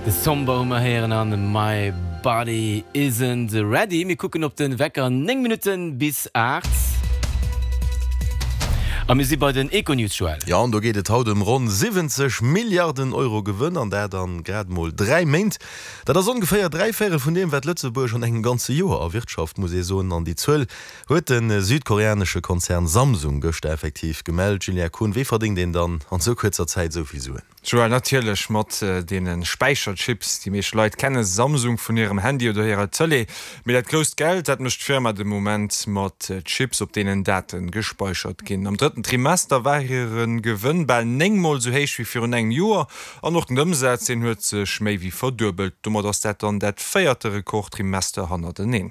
De Somber hu mer héieren an My Body Isn't Ready. Mir kucken op de Wecker, 9 Minutten bis 8. A mir si bei den Econews, Joël. Jo, an do geet et haut ëm ronn 70 Milliarden Euro Gewënn, an dat a grad mol 3 Méint. Dat ass ongeféier 3 Véirel vun deem, wat Lëtzebuerg an engem ganze Joer erwirtschaft, muss ee soen. An déi Zuel huet de südkoreanesche Konzern Samsung gëschter effektiv gemellt. Julien Kohn, wéi verdéngt een dann an esou kuerzer Zäit esou vill Suen? Joël, Natierlech mat deene Späicherchips. Déi meescht Leit kenne Samsung vun hirem Handy oder hirer Tëlee. Mee dat grousst Geld, dat mécht d'Firma de Moment mat Chips, op deenen Date gespeichert ginn. Am drëtten Trimester war hire Gewënn bal 9 Mol esou héich wéi virun engem Joer. An och den Ëmsaz, deen huet sech méi wéi verduebelt. Domat ass dat dann dat véierte Rekordtrimester hannerteneen.